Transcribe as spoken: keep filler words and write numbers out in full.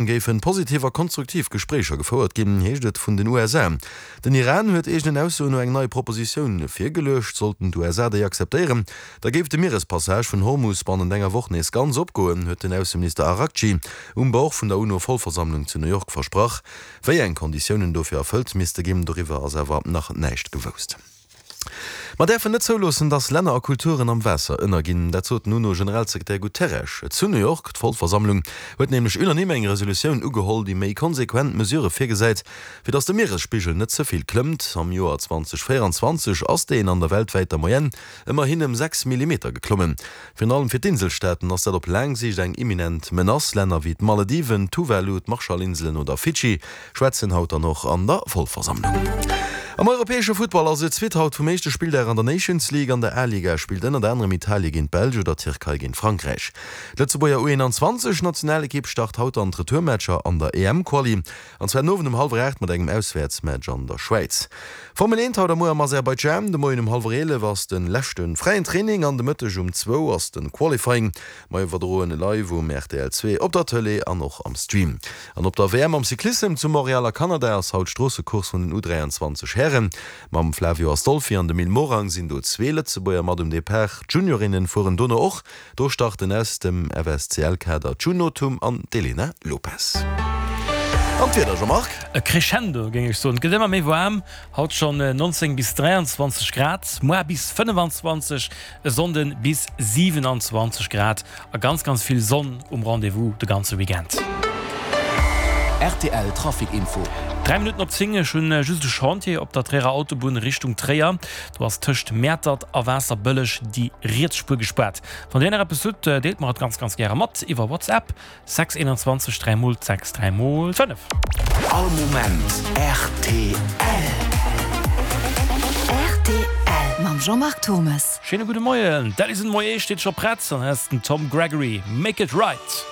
Géifen positiv a konstruktiv Gespréicher gefouert ginn, heescht et vun den U S A. Den Iran huet eegenen Aussoen no eng nei Propositioun virgeluecht. Sollten d'U S A déi akzeptéieren, da géif de Mierespassage vun Hormus bannent enger Woch nees ganz opgoen, huet den Ausseminister Araghchi um Bord vun der UNO-Vollversammlung zu New York versprach. Wéi eng Konditiounen dofir erfëllt misste ginn, doriwwer ass awer nach näischt gewousst. Mer däerfen net zouloossen, datt Länner a Kulturen am Waasser ënnerginn, dat sot den UNO-Generalsekretär Guterres zu New York. D'Vollversammlung huet nämlech unanime eng Resolutioun ugeholl, déi méi konsequent Mesurë virgesäit, fir datt de Mieresspigel net ze vill klëmmt. Am Joer zweedausendvéierenzwanzeg ass deen an der weltwäiter Moyenne ëmmerhin ëm sechs Millimeter geklommen. Virun allem fir d'Inselstaaten ass dat op laang Siicht eng imminent Menace. Länner wéi d'Malediven, Tuvalu, d'Marshallinselen oder Fidschi schwätzen haut dann och an der Vollversammlung. Am europäesche Futtball ass et d'Suite haut vum éischte Spilldag an der Nations League. An der A-Liga spillt ënnert anerem Italie géint d'Belsch oder d'Tierkei géint Frankräich. D'Lëtzebuerger U eenanzwanzeg Nationalekipp start haut an d'Retourmatcher an der E M-Quali, an zwar den Owend um hallwer aacht mat engem Auswäertsmatch an der Schwäiz. Formel eent haut a muer am Aserbaidschan. De Moien um hallwer eelef ass de leschte fräien Training an de Mëtteg um zwou ass de Qualifying. Mer iwwerdroen live um R T L zwee op der Tëlee an och am Stream. An op der W M am Cyclissem zu Montreal a Kanada ass haut d'Stroossecourse vun den U dräianzwanzeg Hären. Mam Flavio Astolfi an dem Mil Morang sinn do zwee Lëtzebuerger mat um Depart. D'Juniorinnen fueren dono och. Do starten aus dem F S C L-Kader d'June Nothum an d'Elena Lopes. An d'Wieder, Jean-Marc? E Crescendo, géing ech soen. Et gëtt ëmmer méi waarm, haut schonn neunzéng bis dräianzwanzeg Grad, muer bis fënnefanzwanzeg, e Sonnden bis siwenanzwanzeg Grad a ganz, ganz vill Sonn um Rendez-vous de ganze Weekend. R T L Trafic Info. Dräi Minutten op zéng. Ech hunn just e Chantier op der Tréierer Autobunn Richtung Tréier. Do ass tëscht Mäertert a Waasserbëlleg déi riets Spuer gespaart. Wann Dir nach eppes hutt, deelt mer et ganz, ganz gäre mat iwwer WhatsApp sechs einundzwanzeg dräi mol sechs dräi mol fënnef. All Moment R T L. R T L mam Jean-Marc Thomas. Schéine gudde Moien. D'Alison Moyet steet scho prett an hei ass den Tom Gregory. Make it right.